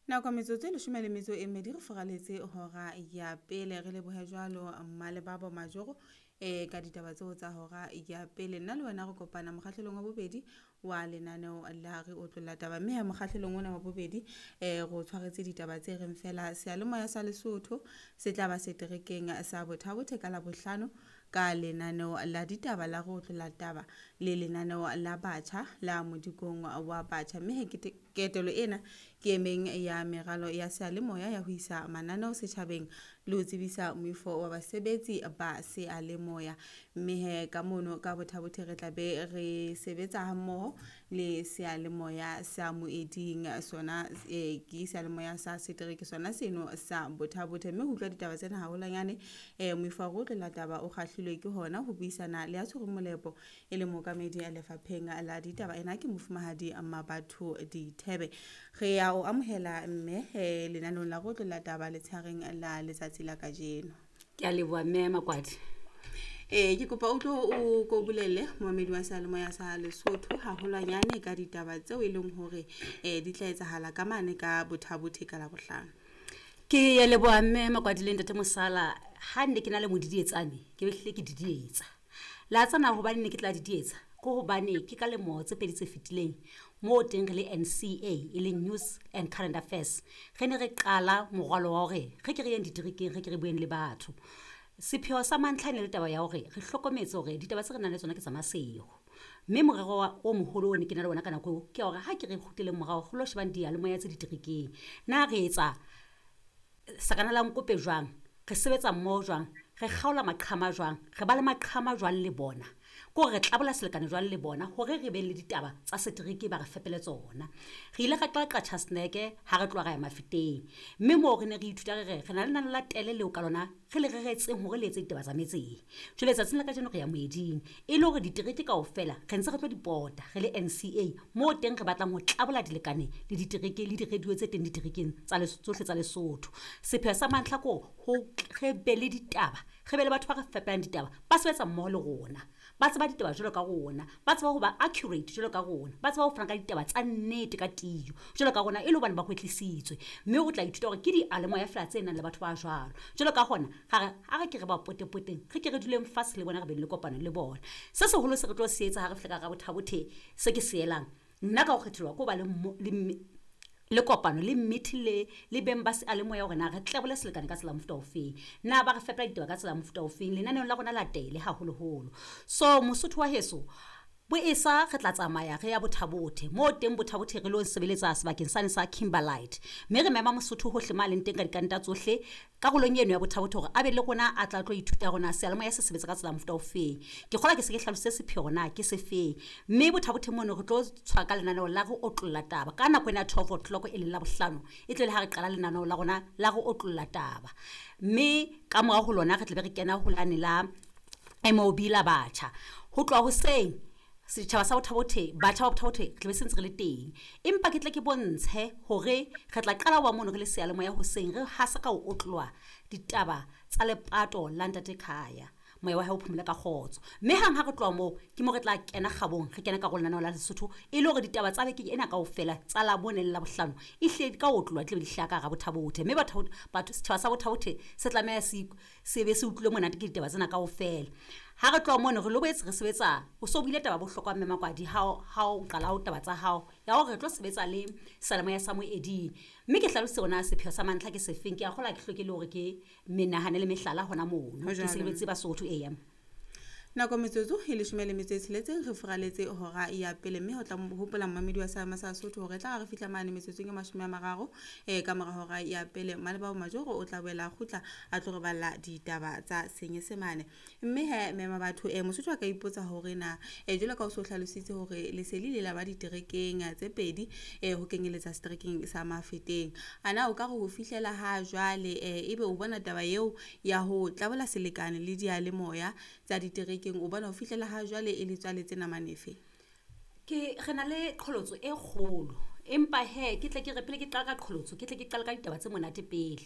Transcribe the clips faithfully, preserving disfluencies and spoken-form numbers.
Nako metsotso e leshome le metso e mmedi re furaletse hora ya pele. Re lebohe jwalo Mmalebabo Majoro eh ka ditaba tseo tsa hora ya pele. Nna le wena re kopana mokgahlelong wa bobedi wa lenaneo la Re Otlolla Taba, mme ha mokgahlelong ona wa bobedi eh re o tshwaretse ditaba tse reng fela seyalemoya sa Lesotho se tla ba seterekeng sa Botha-Bothe ka Labohlano ka lenaneo la ditaba la Re Otlolla Taba le lenaneo la batjha la Modikong wa Batjha. Mme he ketelo ena ke e meng ya meralo ya seyalemoya ya ho isa mananeo setjhabeng le ho tsebisa moifo wa basebetsi ba seyalemoya. Mme he ka mono ka Botha-Bothe re tla be re sebetsa hammoho le seyalemoya sa Moeding, sona eh ke seyalemoya sa setereke sona seno sa Botha-Bothe. Mme ho utlwa ditaba tsena haholwanyane eh moifo wa Re Otlolla Taba o kgahlilwe ke hona ho buisana le ya tshwereng molepo e le mookamedi lefapheng la ditaba, ena ke mofumahadi Mmabatho Dithebe. Re ya o amohela mme eh lenaneong la Re Otlolla Taba letshareng la letsatsi la kajeno. Ke a leboha mme Makwadi. Eh ke kopa o tlo o ko bolelle momamedi wa seyalemoya sa Lesotho haholwanyane ka ditaba tseo e leng hore eh di tla etsahala ka mane ka Botha-Bothe ka Labohlano. Ke ya leboha mme Makwadi le ntate Mosala. Ha nne ke na le modidietsane, ke behlile ke didietsa. La tsana hobane ne ke tla didietsa, ke hobane ke ka lemo tse pedi tse fetileng moo teng re le N C A e leng News and Current Affairs, re ne re qala morwalo wa hore re ke re yeng diterekeng, re ke re bueng le batho. Sepheo sa mantlha e ne le taba ya hore re hlokometse hore ditaba tse re nang le tsona ke tsa maseho. Mme morero wa o moholo o ne ke na le ona ka nako eo ke hore ha ke re kgutleleng morao re lo shebang diyalemoya tse diterekeng. Na re etsa sakana la nkope jwang? Re sebetsa mmoho jwang? Re kgaola maqhama jwang? Re ba le maqhama jwang le bona? Ke hore re tlabola selekane jwang le bona hore re be le ditaba tsa setereke ba re fepele tsona. Re ile ra qala Qacha's Nek ha re tloha ra ya Mafeteng. Mme moo re ne re ithuta re re re na le lenane la tele leo ka lona re le reretseng hore le etse ditaba tsa metseng. Jwale tsatsing la kajeno re ya moeding e le hore ditereke kaofela re ntse re tlo di pota re le N C A moo teng re batlang ho tlabola dilekane le ditereke le di-radio tse teng diterekeng tsa tsohle tsa Lesotho. Sepheo sa mantlha ke hore ho re be le ditaba, re be le batho ba re fepelang ditaba, ba sebetsa mmoho le rona, ba tseba ditaba jwalo ka rona, ba tseba ho ba accurate jwalo ka rona, ba tseba ho fana ka ditaba tsa nnete ka tiyo jwalo ka rona, e le hobane ba kwetlisitswe. Mme o tla ithuta hore ke diyalemoya feela tse nang le batho ba jwalo. Jwalo ka hona ra re ha re ke re ba potepoteng, re ke re duleng fatshe le bona, re be le kopano le bona. Se seholo se re tlo se etsa ha re fihla ka hara Botha-Bothe, se ke se elang nna ka ho kgethelwa ke ho ba le mo, le mme, le kopano le meeting le, le beng ba seyalemoya hore na re tlebole selekane ka tsela mofuta ofeng, na ba re fepela ditaba ka tsela mofuta ofeng lenaneong la rona la tele haholoholo. So Mosotho wa heso bo esa re tla tsamaya re ya Botha-Bothe, moo teng Botha-Bothe re lo sebeletsa sebakeng sane sa Kimberlite. Mme re mema Mosotho hohle ma leng teng ka dikanta tsohle karolong eno ya Botha-Bothe hore a be le rona a tla tlo ithuta hore na seyalemoya se sebetsa ka tsela mofuta ofeng. Ke kgolwa ke se ke hlalositse sepheo hore na ke sefeng. Mme Botha-Bothe mono re tlo tshwara ka lenaneo la Re Otlolla Taba ka nako ena ya twelve o'clock e leng Labohlano, e tle le ha re qala lenaneo la rona la Re Otlolla Taba. Mme ka morao ho lona re tla be re kena ho lane la M O B la batjha. Ho tloha hoseng setjhaba sa Botha-Bothe, batjha ba Botha-Bothe re tla be se ntse re le teng. Empa ke tle ke bontshe hore re tla qala wa mono re le seyalemoya hoseng, re hasa ka ho otloha ditaba tsa lepato la ntate Khaya, moya wa hae o phomole ka kgotso. Mme hang ha re tloha moo ke mo re tla kena kgabong, re kena karolong lenaneo la Lesotho e le hore ditaba tsa beke ena kaofela tsa Labone le Labohlano e hle di ka otloha, di tla be di hlaha ka hara Botha-Bothe. Mme batho, batho, setjhaba sa Botha-Bothe se tlameha se, se be se utlwile monate ke ditaba tsena kaofela. Ha re tloha mono re lo boetse re sebetsa, o so buile taba bohlokwa mme Makwadi ha o, ha o qala ho taba tsa hao ya hore re tlo sebetsa le seyalemoya sa Moeding. Mme ke hlalositse hore na sepheo sa mantlha ke sefeng. Ke a kgolwa ke hloke le hore ke menahane le mehlala hona mono. Ho Ke jwalo. sebetse Basotho, eya. Nako metsotso e leshome le metso e tsheletseng re furaletse hora ya pele, mme ho tla hopola momamedi wa Seyalemoya sa Sesotho hore tla re fihla mane metsotsong e mashome a mararo eh ka mora hora ya pele. Mmalebabo Majoro o tla boela a kgutla a tlo re balla ditaba tsa Senyesemane. Mme he mema batho eh Mosotho a ka ipotsa hore na eh jwalo ka o so hlalositse hore lesedi le la ba diterekeng tse pedi eh ho kenyeletsa seterekeng sa Mafeteng, ana o ka re ho fihlela ha jwale eh ebe o bona taba eo ya ho tlabola selekane le diyalemoya tsa diterekeng, o bona ho fihlela ha jwale e le tswaletse namane efe? Ke re na le qholotso e kgolo, empa he ke tle ke re pele ke qala ka qholotso, ke tle ke qale ka ditaba tse monate pele.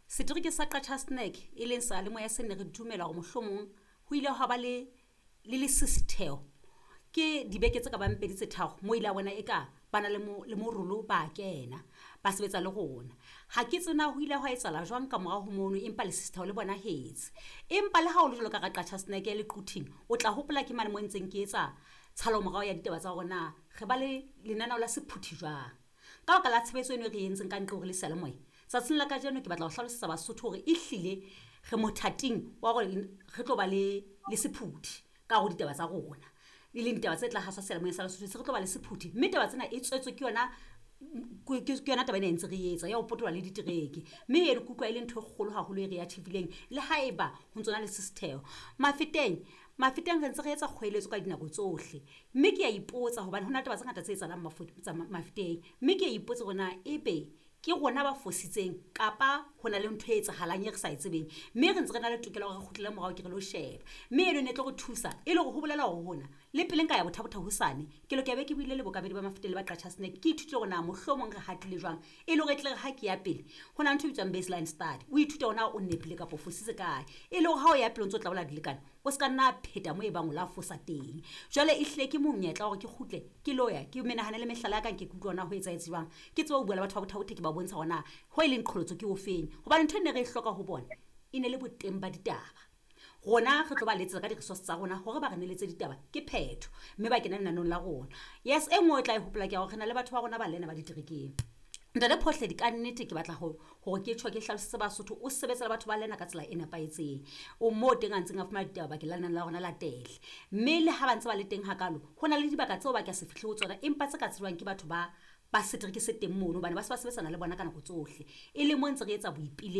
Setereke sa Qacha's Nek e leng seyalemoya se ne re dumela hore mohlomong ho ile hwa ba le, le lesisitheho ke dibeke tse ka bang pedi tse tharo moo ile a bona eka ba na le le morolo ba kena ba sebetsa le rona. Ha ke tsena ho ile hwa etsahala jwang ka morao ho mono, empa lesisitheho le bonahetse. Empa le ha o le jwalo ka ra Qacha's Nek le Quthing, o tla hopola ke mane mo ntseng ke etsa tshalo morao ya ditaba tsa hore na re ba le lenaneo la sephuthi jwang. Ka baka la tshebetso eno e re entseng ka ntle hore le seyalemoya, tsatsing la kajeno ke batla ho hlalosetsa Basotho hore ehlile re mothating wa hore re tlo ba le le sephuthi ka hare ho ditaba tsa rona. E leng ditaba tse tla haswa seyalemoyeng sa Lesotho, se re tlo ba le sephuthi. Mme taba tsena e tswetswe ke yona ke yona taba ena e ntse re etsa ya ho potoloha le ditereke. Mme eno ke utlwa e le ntho e kgolo haholo e re achieve-ileng le haeba ho ntsona le sisitheho. Mafeteng, Mafeteng re ntse re etsa kgoeletso ka dinako tsohle. Mme ke a ipotsa hobane hona le taba tse ngata tse etsahalang Mafeteng. Mme ke a ipotsa hore na ebe ke rona ba fositseng kapa ho na le ntho e etsahalang e re sa e tsebeng. Mme re ntse re na le tokelo ya hore re kgutlele morao ke re lo sheba. Mme eno e ne tlo re thusa e le hore ho bolela hore hona le pele nka ya Botha-Bothe hosane, ke lokela be ke buile le bookamedi ba Mafeteng le ba Qacha's Nek. Ke ithute hore na mohlomong re hatile jwang e le hore e tle re ha ke ya pele ho na le ntho e bitswang baseline study. O ithute hore na o nepile kapa o fositse kae. E le hore ha o ya pele o ntso tla dilekane, o ska nna pheta mo e bang o la fosa teng. Jwale ehlile ke monyetla hore ke kgutle ke lo ya ke menahane le mehlala ya ka nke ke utlwe hore na ho etsahetse jwang. Ke tsebe ho bua le batho ba Botha-Bothe, ke ba bontsha hore na ho e leng qholotso ke ofeng. Hobane ntho e ne re e hloka ho bona e ne le boteng ba ditaba. Rona re tlo ba letsetsa ka di-resource tsa rona hore ba re neletse ditaba ke phetho, mme ba kena lenaneong la rona. Yes, e nngwe o tla e hopola ke ya hore re na le batho ba rona ba lena ba diterekeng. Ntate Phohledi, ka nnete ke batla ho hore ke tjho ke hlalosetse Basotho, o sebetsa le batho ba lena ka tsela e nepahetseng. O mo teng a ntseng a fumana ditaba bakeng la lenaneo la rona la tele. Mme le ha ba ntse ba le teng hakalo, ho na le dibaka tseo ba ka se fihle ho tsona, empa tse ka tsejwang ke batho ba ba setereke se teng mono, hobane ba se ba sebetsana le bona ka nako tsohle. E le mo ntse re etsa boipiletso.